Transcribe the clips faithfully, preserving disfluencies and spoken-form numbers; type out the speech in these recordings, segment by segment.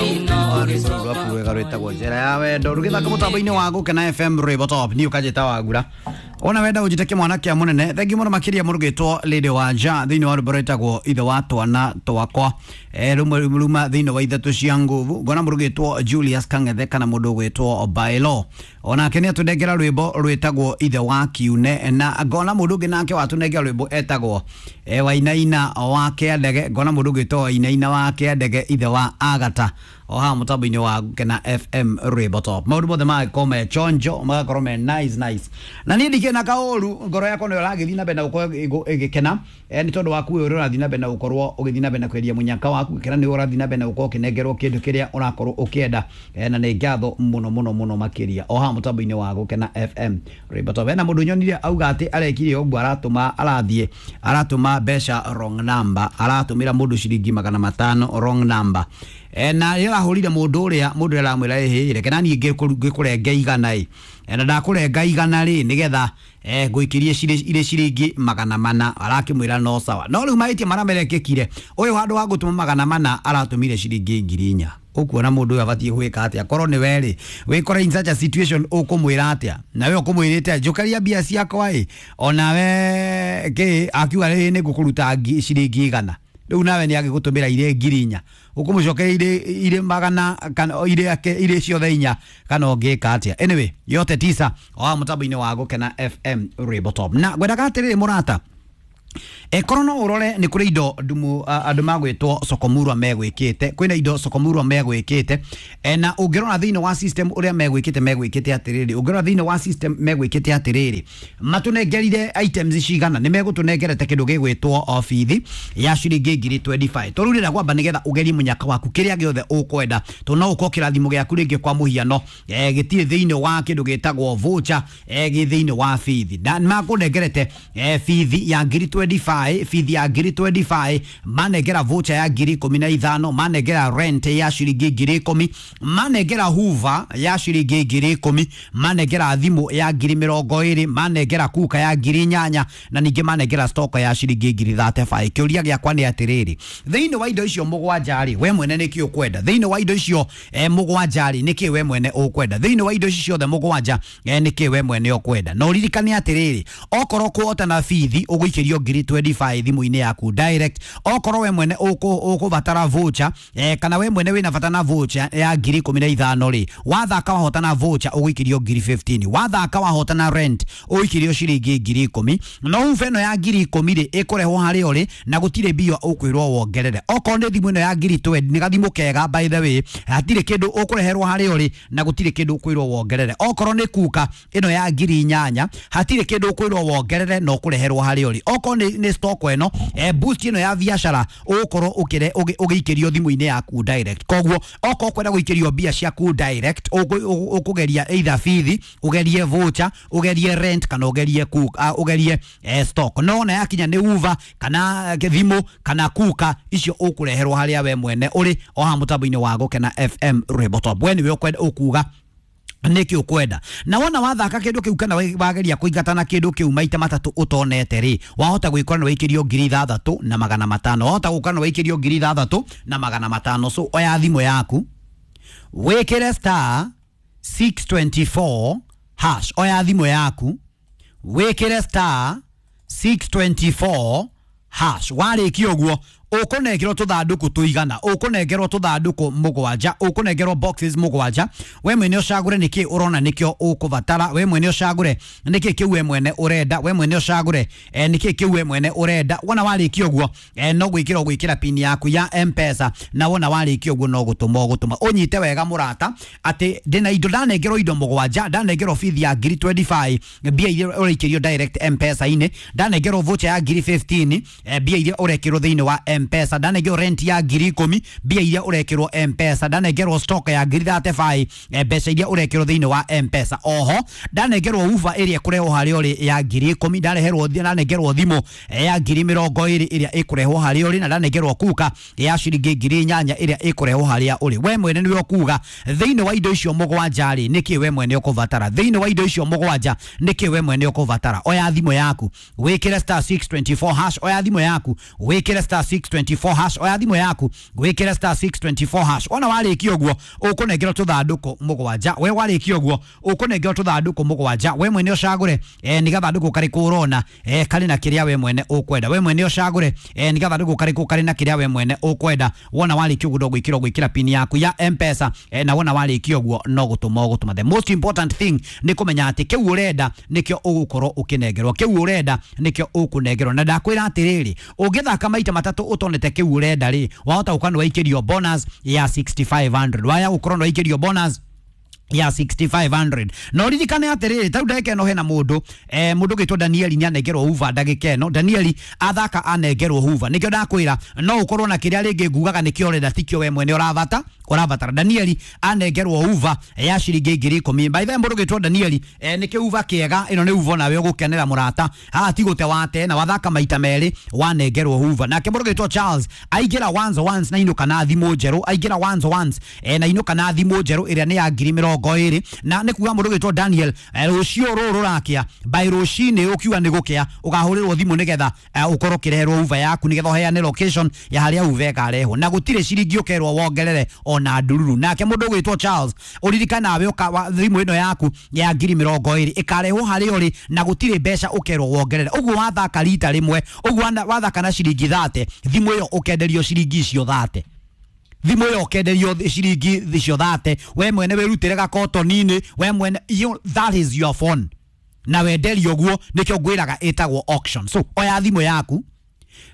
Rwĩmbo rwaku rwega rwĩtagwo njĩra ya wendo rũgĩthaka mũtambo-inĩ wa Gũkena F M rwĩmbo top niĩ ũkanjĩta Wagura ona wenda ũnjĩte kĩmwana kĩa mũnene thengi mũno makĩria mũrũgĩtwo Lady Wanja thĩinĩ wa rwĩmbo rwĩtagwo ithe wa twana twakwa eh, rumwe ruma thĩinĩ wa ithatũ cia nguvu ngona mũrũgĩtwo Julius Kang'ethe kana mũndũ ũgwĩtwo Bailo onake nĩ atũnengera rwĩmbo rwĩtagwo ithe wa kiune na ngona mũndũ ũngĩ nake watũnengera rwĩmbo etagwo eh, Wainaina wa Kĩandege ngona mũndũ ũgwĩtwo Wainaina wa Kĩandege ithe wa Agata o haha mũtambo-inĩ wa Gũkena F M rwĩmbo top maũndũ mothe magakorwo me chonjo magakorwo me nice nice na niĩ ndikĩna kaũru ngoro yakwa nĩyo ĩragĩthiĩ na mbere na gũkorwo ĩgĩkena eh, nĩ tondũ waku ũyũ ũrĩa ũrathiĩ na mbere na gũkorwo ũgĩthiĩ na mbere na kwendia mũnyaka waku gĩkena nĩ ũrathiĩ na mbere na gũkorwo ũkĩnengerwo kĩndũ kĩrĩa ũrakorwo ũkĩenda eh, na nĩ ngatho mũno mũno mũno makĩria o haha mũtambo-inĩ wa Gũkena F M rwĩmbo top hena mũndũ nyonire auga atĩ arekire ũguo aratũma arathiĩ aratũma mbeca wrong number aratũmĩra mũndũ ciringi magana matano wrong number e, na rĩrĩa arahũrire mũndũ ũrĩa mũndũ ũrĩa aramwĩra ĩhĩ reke naniĩ ngĩkũrenge igana ĩ e, na ndakũrenga igana rĩ nĩgetha eh ngũikĩrie irĩ ciringi magana mana arakĩmwĩra no sawa no rĩu mahĩtia marĩa merekĩkire ũyũ handũ wa gũtũma magana mana aratũmire ciringi ngiri inya ũkuona mũndũ ũyũ abatiĩ gwĩka atĩa korwo nĩ werĩ wĩkore in such a situation ũkũmwĩra atĩa na we ũkũmwĩrĩte njũkaria mbia ciakwa ĩ onawe kĩ akiuga rĩ nĩ ngũkũruta ciringi igana rĩu nawe nĩ agĩgũtũmĩra irĩ ngiri inya ũkũmũcokeria irĩ irĩ magana kana irĩ ake irĩ ciothe inya kana ũngĩka atĩa anyway yote tisa o haha mũtambo-inĩ wa Gũkena F M rwĩmbo top na ngwendaga atĩrĩrĩ mũrata ekorwo no ũrore nĩ kũrĩ indo ndumu andũ magwĩtwo Sokomurwa megwĩkĩte kwĩna indo Sokomurwa megwĩkĩte e, na ũngĩrora thĩinĩ wa system ũrĩa megwĩkĩte megwĩkĩte atĩrĩrĩ ũngĩrora thĩinĩ wa system megwĩkĩte atĩrĩrĩ matũnengerire items cigana nĩ megũtũnengerete kĩndũ gĩgwĩtwo obithi ya ciringi ngiri twenty-five tondũ rĩrĩa kwamba nĩgetha ũgerie mũnyaka waku kĩrĩa gĩothe ũkwenda tondũ no ũkorwo kĩrathimo gĩaku rĩngĩ kwa mũhiano e, gĩtirĩ thĩinĩ wa kĩndũ gĩtagwo voucher e, gĩ thĩinĩ wa bithi na makũnengerete e, bithi ya ngiri twenty-five bithi ya ngiri twenty-five manengera voucher ya ngiri ikũmi na ithano manengera rent ya ciringi ngiri ikũmi manengera hoover ya ciringi ngiri ikũmi manengera thimũ ya ngiri mĩrongo ĩrĩ manengera kuka ya ngiri inyanya na ningĩ manengera stock ya ciringi ngiri thirty-five kĩũria gĩakwa nĩ atĩrĩrĩ thĩinĩ wa indo icio mũgwanja rĩ we mwene nĩkĩ ũkwenda thĩinĩ wa indo icio eh, mũgwanja rĩ nĩkĩ we mwene ũkwenda thĩinĩ wa indo icio ciothe mũgwanja eh, nĩkĩ we mwene ũkwenda na ũririkane atĩrĩrĩ okorwo kũhota na bithi ũgũikĩrio ngiri twenty-five thimũ-inĩ yaku direct okorwo we mwene ũkũbatara voucher eh, kana we mwene wĩna bata na voucher ya ngiri ikũmi na ithano rĩ wathaka wahota na voucher ũgũikĩrio ngiri fifteen wathaka wahota na rent ũgũikĩrio ciringi ngiri ikũmi no hoover ĩno ya ngiri ikũmi rĩ ĩkũrehwo harĩa ũrĩ na gũtirĩ mbia ũkwĩrwo wongerere okorwo nĩ thimũ ĩno ya ngiri twenty nĩ gathimũ kega by the way hatirĩ kĩndũ ũkũreherwo harĩa ũrĩ na gũtirĩ kĩndũ ũkwĩrwo wongerere okorwo nĩ kuka ĩno ya ngiri inyanya hatirĩ kĩndũ ũkwĩrwo wongerere na ũkũreherwo harĩa ũrĩ okorwo nĩ nĩ stock ĩno eh, boost ĩno ya biacara ũgũkorwo ũkĩre ũgĩikĩrio thimũ-inĩ yaku direct koguo okorwo kwenda gũikĩrio mbia ciaku direct ũkũgeria either bithi ũgerie voucher ũgerie rent kana ũgerie kuka uh, ũgerie eh, stock no ona yakinya nĩ hoover kana thimũ kana kuka icio ũkũreherwo harĩa we mwene ũrĩ o haha mũtambo-inĩ wa Gũkena F M rwĩmbo top we nĩwe ũkwenda ũkuga nĩkĩ ũkwenda na wona wathaka kĩndũ kĩu kana wageria kũingatana kĩndũ kĩu maita matatũ ũtonete rĩ wahota gwĩkora nĩ waikĩrio ngiri ithathatũ na magana matano wahota gũkora nĩ waikĩrio ngiri ithathatũ na magana matano so oya thimũ yaku wĩkĩre star six twenty-four hash oya thimũ yaku wĩkĩre star six twenty-four hash warĩkia ũguo ũkũnengerwo tũthandũkũ tũigana ũkũnengerwo tũthandũkũ mũgwanja ũkũnengerwo boxes mũgwanja we mwene ũcagũre nĩkĩ ũrona nĩkĩo ũkũbatara we mwene ũcagũre nĩkĩ kĩu we mwene ũrenda we mwene ũcagũre eh, nĩkĩ kĩu we mwene ũrenda wona warĩkia ũguo eh, no gwĩkĩra ũgwĩkĩra pin yaku ya M-Pesa na wona warĩkia ũguo no gũtũma ũgũtũma ũnyite wega mũrata atĩ ndĩna indo ndanengerwo indo mũgwanja ndanengerwo bithi ya ngiri twenty-five mbia iria ũraikĩrio direct M-Pesa-inĩ ndanengerwo voucher ya ngiri fifteen eh, mbia iria ũrekĩrwo thĩinĩ wa M-Pesa ndanengerwo rent ya ngiri ikũmi mbia iria ũrekĩrwo M-Pesa ndanengerwo stock ya ngiri thirty-five mbeca iria ũrekĩrwo thĩinĩ wa M-Pesa oho ndanengerwo hoover ĩrĩa ĩkũrehwo harĩa ũrĩ ya ngiri ikũmi ndareherwo ndanengerwo thimũ ya ngiri mĩrongo ĩrĩ ĩrĩa ĩkũrehwo harĩa ũrĩ na ndanengerwo kuka ya ciringi ngiri inyanya ĩrĩa ĩkũrehwo harĩa ũrĩ we mwene nĩwe ũkuga thĩinĩ wa indo icio mũgwanja rĩ nĩkĩ we mwene ũkũbatara thĩinĩ wa indo icio mũgwanja nĩkĩ we mwene ũkũbatara oya thimũ yaku wĩkĩre star six twenty-four hash oya thimũ yaku wĩkĩre star six six twenty-four hash. Oya thimũ yaku wĩkĩre star six twenty-four hash. Wona warĩkia ũguo, ũkũnengerwo tũthandũkũ mũgwanja. We warĩkia ũguo, ũkũnengerwo tũthandũkũ mũgwanja. We mwene ũcagũre eh, nĩ gathandũkũ karĩkũ ũrona eh, karĩ na kĩrĩa we mwene ũkwenda. We mwene ũcagũre eh, nĩ gathandũkũ karĩkũ karĩ na kĩrĩa we mwene ũkwenda. Wona warĩkia ũguo, no gwĩkĩra gwĩkĩra pin yaku ya M-Pesa eh, na wona warĩkia ũguo, no gũtũma ũgũtũma. The most important thing nĩ kũmenya atĩ kĩu ũrenda nĩkĩo ũgũkorwo ũkĩnengerwo, kĩu ũrenda nĩkĩo ũkũnengerwo. Na ndakwĩra atĩrĩrĩ, ũngĩthaka maita matatũ ũtonete kĩu ũrenda rĩ, wahota gũkorwo nĩ waikĩrio bonus ya six thousand five hundred, waya gũkorwo nĩ waikĩrio bonus ya six thousand five hundred. Na ũririkane atĩrĩrĩ, tarĩu ndagĩka ĩno hena mũndũ eh, mũndũ ũgĩtwo Danieli nĩ anengerwo hoofer. Ndagĩka ĩno Danieli athaka anengerwo hoofer. Nĩkĩo ndakwĩra no ũkorwo na kĩrĩa rĩngĩ ngugaga nĩkĩo ũrenda, tikĩo we mwene ũravata ũrabatara. Danieli anengerwo hoofer ya ciringi ngiri ikũmi. By the way, mũndũ ũgĩtwo Danieli eh, nĩkĩo hoofer kĩega. Ĩno nĩ hoofer nawe ũgũkenera, mũrata. Haha ti gũte wate na wathaka maita merĩ wanengerwo hoofer. Nake mũndũ ũgĩtwo Charles aingĩra once once na inũka na thimũ njerũ. Aingĩra once once eh, na inũka na thimũ njerũ ĩrĩa nĩ ya ngiri mĩrongo ĩrĩ. Na nĩ kuga mũndũ ũgĩtwo Daniel eh, rũciũ rũrũ rũrakĩa, by rũcinĩ ũkiuga nĩ gũkĩa, ũkahũrĩrwo thimũ nĩgetha eh, ũkorwo ũkĩreherwo hoofer yaku, nĩgetha ũheane location ya harĩa hoofer ĩkarehwo, na gũtirĩ ciringi ũkerwo wongerere ona ndururu. Nake mũndũ ũgwĩtwo Charles, ũririkane nawe ũka- wa- thimũ ĩno yaku ya ngiri mĩrongo ĩrĩ ĩkarehwo harĩa ũrĩ, na gũtirĩ mbeca ũkerwo wongerere. Ũguo wathaka rita rĩmwe ũguo wana- wathaka na ciringi thate, thimũ ĩyo ũkenderio ciringi icio thate. Thimũ ĩyo ũkenderio ciringi icio thate. We mwene wĩrutĩre gakotoni-inĩ we mwene. you, that is your phone na wenderio ũguo. Nĩkĩo ngwĩraga ĩtagwo auction. So oya thimũ yaku.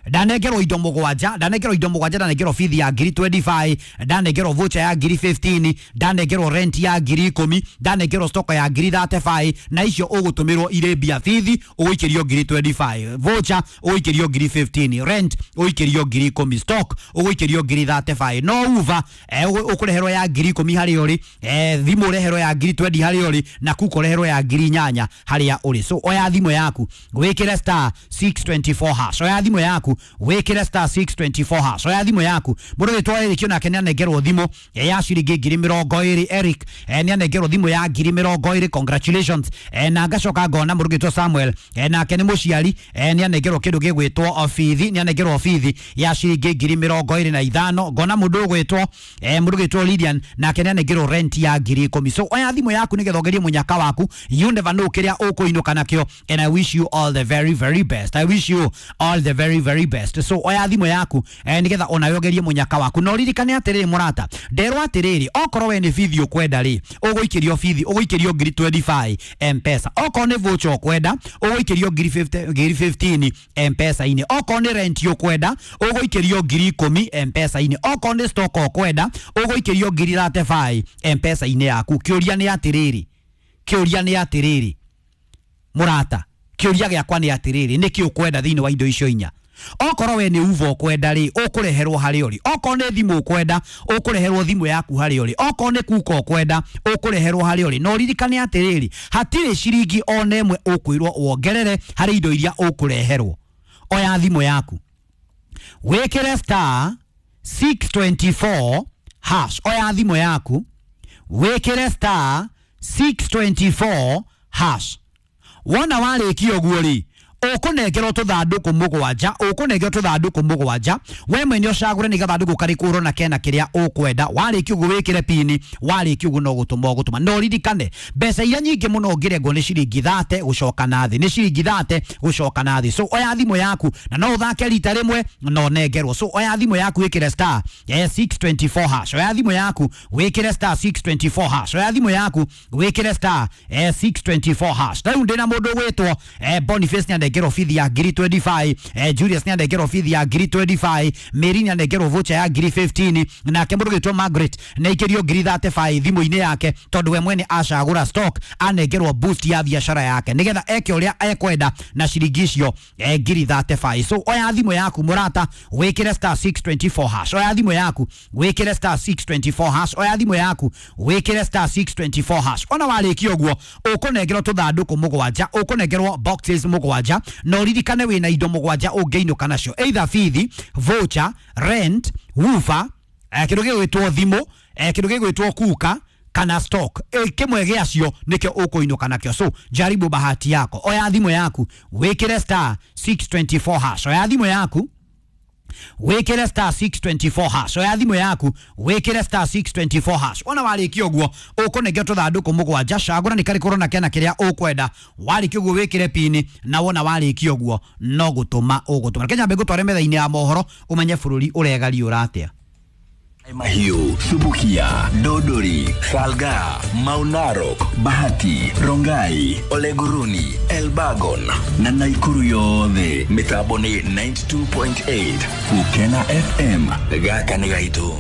Ndanengerwo indo mũgwanja, ndanengerwo indo mũgwanja. Ndanengerwo bithi ya ngiri mĩrongo ĩrĩ na ithano, ndanengerwo voucher ya ngiri ikũmi na ithano, ndanengerwo rent ya ngiri ikũmi, ndanengerwo stock ya ngiri mĩrongo ĩtatũ na ithano. Na icio ũgũtũmĩrwo irĩ mbia. Bithi ũgũikĩrio ngiri mĩrongo ĩrĩ na ithano, voucher ũgũikĩrio ngiri ikũmi na ithano, rent ũgũikĩrio ngiri ikũmi, stock ũgũikĩrio ngiri mĩrongo ĩtatũ na ithano. No hoofer eh, ũkũreherwo ya ngiri ikũmi harĩa ũrĩ, eh, thimũ ũreherwo ya ngiri mĩrongo ĩrĩ harĩa ũrĩ, na kuko ũreherwo ya ngiri inyanya harĩa ũrĩ. So oya thimũ yaku wĩkĩre star six twenty-four hash. Oya thimũ yaku wĩkĩre star six twenty-four hash. Oya thimũ yaku. Mũndũ wĩtwo Eric onake nĩ anengerwo thimũ ya ciringi ngiri mĩrongo ĩrĩ. Eric eh, nĩ anengerwo thimũ ya ngiri mĩrongo ĩrĩ. Congratulations. eh, na ngacoka ngona mũndũ wĩtwo Samuel, eh, nake nĩ mũciari, eh, nĩ anengerwo kĩndũ gĩgwĩtwo bithi, nĩ anengerwo bithi ya ciringi ngiri mĩrongo ĩrĩ na ithano. Ngona mũndũ ũgwĩtwo eh, mũndũ ũgwĩtwo Lilian, nake nĩ anengerwo rent ya ngiri ikũmi. So oya thimũ yaku nĩgetha ũgerie mũnyaka waku. You never know kĩrĩa ũkũinũka nakĩo, and I wish you all the very very best. I wish you all the very very best. So oya thimũ yaku eh, nĩgetha onawe ũgerie mũnyaka waku. Na ũririkane atĩrĩrĩ, mũrata, nderwo atĩrĩrĩ, okorwo we nĩ bithi ũkwenda rĩ, ũgũikĩrio bithi, ũgũikĩrio ngiri mĩrongo ĩrĩ na ithano M-Pesa. Okorwo nĩ voucher ũkwenda, ũgũikĩrio ngiri mĩrongo ĩtano, ngiri ikũmi na ithano M-Pesa-inĩ. Okorwo nĩ rent ũkwenda, ũgũikĩrio ngiri ikũmi M-Pesa-inĩ. Okorwo nĩ stock ũkwenda, ũgũikĩrio ngiri mĩrongo ĩtatũ na ithano M-Pesa-inĩ yaku. Kĩũria nĩ atĩrĩrĩ, kĩũria nĩ atĩrĩrĩ, mũrata, kĩũria gĩakwa nĩ atĩrĩrĩ, nĩkĩ ũkwenda thĩinĩ wa indo icio inya? Okorwo we nĩ hoofer ũkwenda rĩ, ũkũreherwo harĩa ũrĩ. Okorwo nĩ thimũ ũkwenda, ũkũreherwo thimũ yaku harĩa ũrĩ. Okorwo nĩ kuka ũkwenda, ũkũreherwo harĩa ũrĩ. Na ũririkane atĩrĩrĩ, hatirĩ ciringi ona ĩmwe ũkwĩrwo wongerere harĩ indo iria ũkũreherwo. Oya thimũ yaku wĩkĩre star six twenty-four hash. Oya thimũ yaku wĩkĩre star six twenty-four hash. Wona warĩkia ũguo rĩ, ũkũnengerwo tũthandũkũ mũgwanja, ũkũnengerwo tũthandũkũ mũgwanja. We mwene ũcagũre nĩ gathandũkũ karĩkũ ũrona kena kĩrĩa ũkwenda. Warĩkia ũguo wĩkĩre pini. Warĩkia ũguo no gũtũma ũgũtũma. Na ũririkane mbeca iria nyingĩ mũno ũngĩrengwo nĩ ciringi thate gũcoka na thĩ, nĩ ciringi thate gũcoka na thĩ. So oya thimũ yaku na no ũthake rita rĩmwe na ũnengerwo. So oya thimũ yaku wĩkĩre star eh, six twenty-four hash. Oya thimũ yaku wĩkĩre star six twenty-four hash. Oya thimũ yaku wĩkĩre star eh, six twenty-four hash. Rĩu ndĩna mũndũ ũgwĩtwo eh, Boniface nĩ anengerwo bithi ya ngiri mĩrongo ĩrĩ na ithano, eh, Julius nĩ anengerwo bithi ya ngiri mĩrongo ĩrĩ na ithano, Mary nĩ anengerwo voucher ya ngiri ikũmi na ithano, nake mũndũ ũgwĩtwo Margaret nĩ aikĩrio ngiri mĩrongo ĩtatũ na ithano thimũ-inĩ yake tondũ we mwene acagũra stock, anengerwo boost ya biacara yake nĩgetha eke ũrĩa ekwenda na ciringi icio eh, ngiri mĩrongo ĩtatũ na ithano. So oya thimũ yaku, mũrata, wĩkĩre star six twenty-four hash. Oya thimũ yaku wĩkĩre star six twenty-four hash. Oya thimũ yaku wĩkĩre star six twenty-four hash. Ona warĩkia ũguo, ũkũnengerwo tũthandũkũ mũgwanja, ũkũnengerwo boxes mũgwanja. Na ũririkane wĩna indo mũgwanja ũngĩinũka nacio, either bithi, voucher, rent, woofer, eh, kĩndũ gĩgwĩtwo thimũ, eh, kĩndũ gĩgwĩtwo kuka kana stock. e, kĩmwe gĩacio nĩkĩo ũkũinũka nakĩo. So jaribu bahati yako. Oya thimũ yaku wĩkĩre star six twenty-four hash. Oya thimũ yaku. Wikire star six twenty-four hash. Oya thimũ yaku wikire star six twenty-four hash. Wona warĩkia ũguo ũkũnengera tũthandũkũ mũgwanja, cagũra nĩ karĩkũ ũrona kena kĩrĩa ũkwenda. Warĩkia ũguo wĩkĩre pini, na wona warĩkia ũguo no gũtũma ũgũtũma. Reke nyambe ngũtware metha-inĩ ya mohoro ũmenye bũrũri ũregariũra atĩa. Mahiu, Subukia, Dodori, Salga, Maunarok, Bahati, Rongai, Oleguruni, Elbagon na Naikuru yothe. Mitambo ni ninety-two point eight Gukena F M. Gaka nĩ gaitũ.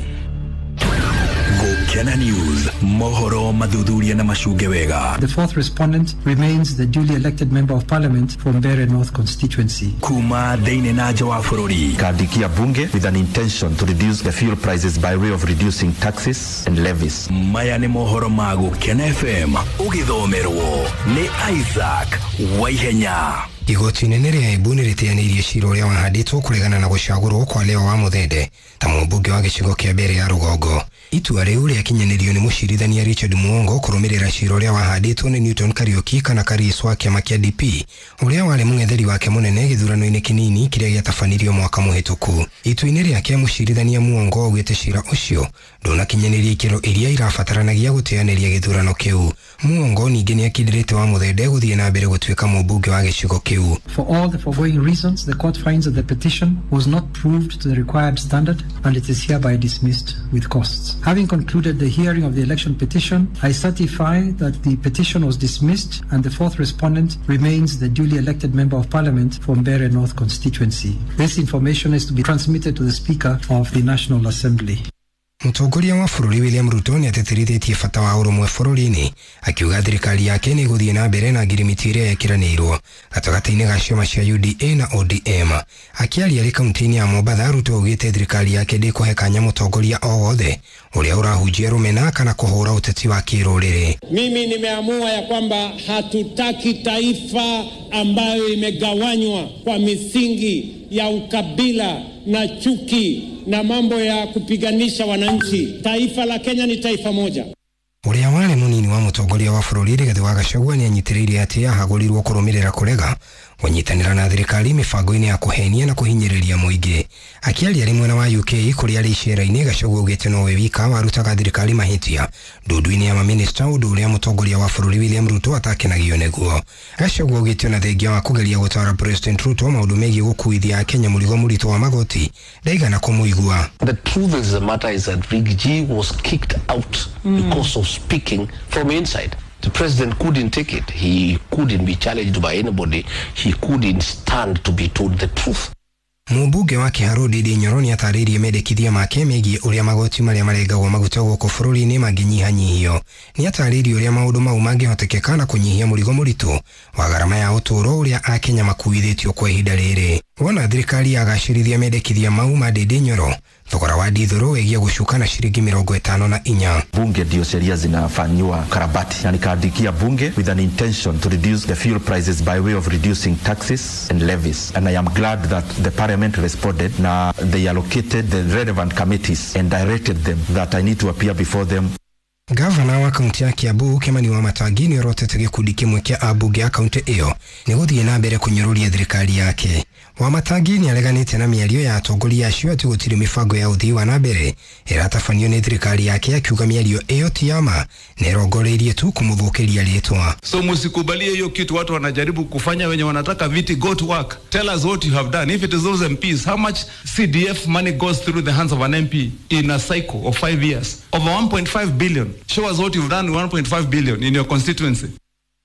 Gukena News, mohoro mathuthuria na macunge wega. The fourth respondent remains the duly elected member of parliament for Mbeere North constituency. Kuma thĩinĩ na nja wa bũrũri. Kandikia bunge with an intention to reduce the fuel prices by way of reducing taxes and levies. Maya nĩ mohoro ma Gukena F M ũgĩthomerwo nĩ Isaac Waihenya. Igoti inene rĩa Embu nĩrĩteanĩirie cira ũrĩa wahandĩtwo kũregana na gũcagũrwo kwa Leo wa Muthende ta mũmbunge wa gĩcigo kĩa mbere ya rũgongo. Itua rĩu rĩakinyanĩrio nĩ mũcirithania Richard Muongo kũrũmĩrĩra cira ũrĩa wahandĩtwo nĩ Newton Kariuki kana Karius wa kĩama kĩa D P ũrĩa warĩ mũng'etheri wake mũnene gĩthurano-inĩ kĩnini kĩrĩa gĩatabanirio mwaka mũhĩtũku. Itua-inĩ rĩake mũcirithania Muongo augĩte cira ũcio ndũnakinyanĩria ikĩro iria irabataranagia gũteanĩria gĩthurano kĩu. Muongo ningĩ nĩakindĩrĩte wa Muthende gũthiĩ na mbere gũtuĩka mũmbunge wa gĩcigo kĩu. For all the foregoing reasons, the court finds that the petition was not proved to the required standard and it is hereby dismissed with costs. Having concluded the hearing of the election petition, I certify that the petition was dismissed and the fourth respondent remains the duly elected member of parliament for Mbeere North constituency. This information is to be transmitted to the Speaker of the National Assembly. Mũtongoria wa bũrũri William Ruto nĩatĩtĩrithĩtie bata wa ũrũmwe bũrũri-inĩ akiuga thirikari yake nĩ ĩgũthiĩ na mbere na ngirimiti ĩrĩa yekĩranĩirwo gatagatĩ-inĩ ga ciama cia U D A na O D M. Akĩaria arĩ kaunti-inĩ ya Mombatha, Ruto augĩte thirikari yake ndĩkũhe kanya mũtongoria o wothe ũrĩa ũrahunjia rũmena kana kũhũra ũteti wa kĩrũrĩrĩ. Mimi nimeamua ya kwamba hatutaki taifa ambayo imegawanywa kwa misingi ya ukabila na chuki na mambo ya kupiganisha wananchi. Taifa la Kenya ni taifa moja. Ũrĩa warĩ mũnini wa mũtongoria wa bũrũri Rigathĩ wa Gachagua nĩanyitĩrĩire atĩ ahagũrirwo kũrũmĩrĩra kũrega kũnyitanĩra na thirikari mĩbango-inĩ ya kũhenia na kũhinyĩrĩria mũingĩ. Akĩaria arĩ mwena wa U K kũrĩa arĩ icera-inĩ, Gachagua augĩte nowe wika warutaga thirikari mahĩtia ndundu-inĩ ya mamĩnĩsta, ũndũ ũrĩa mũtongoria wa bũrũri William Ruto atakenagio nĩguo. Gachagua augĩte ona thengia wa kũgeria gũtara President Ruto maũndũ megiĩ gũkuithia Akenya mũrigo mũritũ wa magoti ndaigana kũmũigua. The truth of the matter is that Riggy G was kicked out mm. because of speaking from inside. The president couldn't take it. He couldn't be challenged by anybody. He couldn't stand to be told the truth. Mũmbunge wa Kiharu Ndindi Nyoro nĩatarĩirie mendekithia make megiĩ ũrĩa magoti marĩa marengagwo maguta gũkũ bũrũri-inĩ mangĩnyihanyihio. Nĩatarĩirie ũrĩa maũndũ mau mangĩhotekeka na kũnyihia mũrigo mũritũ wa garama ya ũtũũro ũrĩa Akenya makuithĩtio kwa ihinda rĩrĩ. Wona thirikari yagacĩrithia mendekithia mau ma Ndindi Nyoro, thogora wa ndithũrũ wĩgiĩ gũcuka na ciringi mĩrongo ĩtano na inya. Bunge ndio sheria zinafanyiwa karabati, na nikaandikia bunge with an intention to reduce the fuel prices by way of reducing taxes and levies, and I am glad that the parliament responded na they allocated the relevant committees and directed them that I need to appear before them. Gavana wa kaunti ya Kiambu Kimani Wamatangi nĩorotete gĩkundi kĩmwe kĩa ambunge a kaunti ĩyo nĩ gũthiĩ na mbere kũnyũrũria thirikari yake. Wamatangi nĩareganĩte na mĩario ya atongoria acio atĩ gũtirĩ mĩbango ya ũthii wa na mbere ĩratabanio nĩ thirikari yake, akiuga mĩario ĩyo ti ya ma na ĩrongoreirie tu kũmũthũkĩria rĩtwa. So msikubalie hiyo kitu watu wanajaribu kufanya, wenye wanataka viti, go to work. Tell us what you have done. If it is those M Ps, how much C D F money goes through the hands of an M P in a cycle of five years? Over one point five billion. Show us what you've done with one point five billion in your constituency.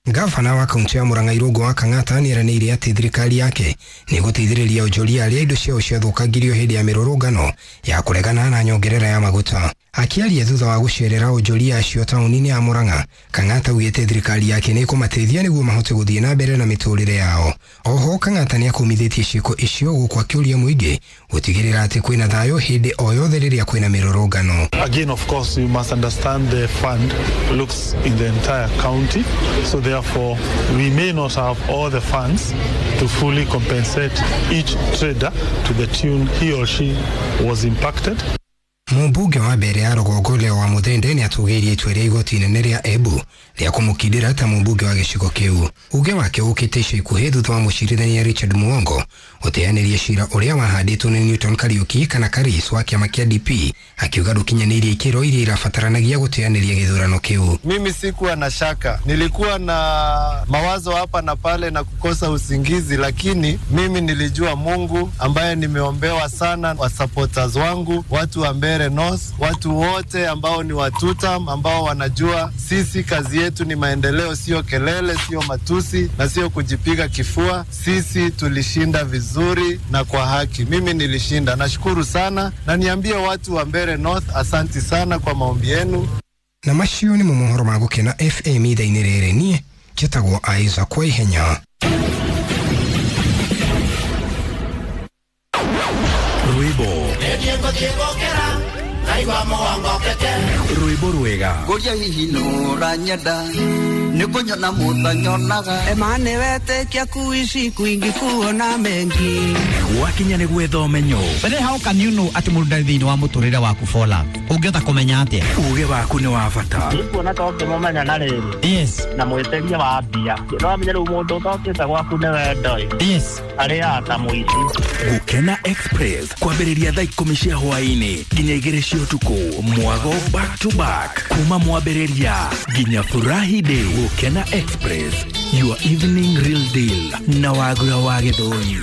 Gavana wa kaunti ya Murang'a Irũngũ wa Kang'ata nĩeranĩire atĩ thirikari yake nĩgũteithĩrĩria onjoria arĩa indo ciao ciathũkangirio hĩndĩ ya mĩrũrũngano ya kũregana na nyongerera ya maguta. Akĩaria thutha wa gũcerera onjoria acio taũni-inĩ ya Murang'a, Kang'ata augĩte thirikari yake nĩĩkũmateithia nĩguo mahote gũthiĩ na mbere na mĩtũrĩre yao. Oho Kang'ata nĩakũmithĩtie ciĩko icio gũkũ akĩũria mũingĩ gũtigĩrĩra atĩ kwĩna thayũ hĩndĩ o yothe rĩrĩa kwĩna mĩrũrũngano. Again, of course, you must understand the fund looks in the entire county, so therefore we may not have all the funds to fully compensate each trader to the tune he or she was impacted. Mũmbunge wa mbere ya rũgongo Leo wa Muthende nĩ atũgĩirie itua rĩa igoti inene rĩa Embu rĩa kũmũkindĩra ta mũmbunge wa gĩcigo kĩu. Uge wake ũkĩte ica ikuhĩ thutha wa mũcirithania Richard Muongo gũteanĩria cira ũrĩa wahandĩtwo nĩ Newton Kariuki kana Karis wa kĩama kĩa D P akiuga ndũkinyanĩirie ikĩro iria irabataranagia gũteanĩria gĩthurano kĩu. Mimi sikuwa na shaka, nilikuwa na mawazo hapa na pale na kukosa usingizi, lakini mimi nilijua Mungu ambaye nimeombewa sana, wa supporters wangu, watu wa Mbeere North, watu wote ambao ni watutam ambao wanajua sisi kazi yetu ni maendeleo, sio kelele, sio matusi na sio kujipiga kifua. Sisi tulishinda vizuri na kwa haki. Mimi nilishinda, nashukuru sana, na niambie watu wa Mbeere North asanti sana kwa maombi yenu. Na macio nĩ mo mohoro ma Gũkena F M ithaa-inĩ rĩrĩ, niĩ njĩtagwo Isaac Waihenya. Rwĩmbo rwĩmbo rwega ngũria hihi nũranyenda nĩ kũnyona mũtanyonaga emane wetĩkia kuishi kwingi kuona mengi gwakinya nĩ gwetha ũmenyo. But then how can you know atĩ mũndũ ndarĩ thĩinĩ wa mũtũrĩre waku for love? Ũngĩhota kũmenya atĩa? Uge waku nĩ wa bata. Nĩkuona ta ũngĩmũmenya na rĩrĩ. Yes. Na mwĩtĩria wa mbia. No amenye rĩu mũndũ ũtokĩte gwaku nĩ wendo ĩ. Yes. Arĩaga ta mũici. Gũkena Express kwambĩrĩria thaa ikũmi cia hwaĩ-inĩ nginya igĩrĩ cia ũtukũ, mwago back to back kuma mwambĩrĩria nginya furahi day. Gũkena Express, your evening real deal na Wagura wa Gĩthũri.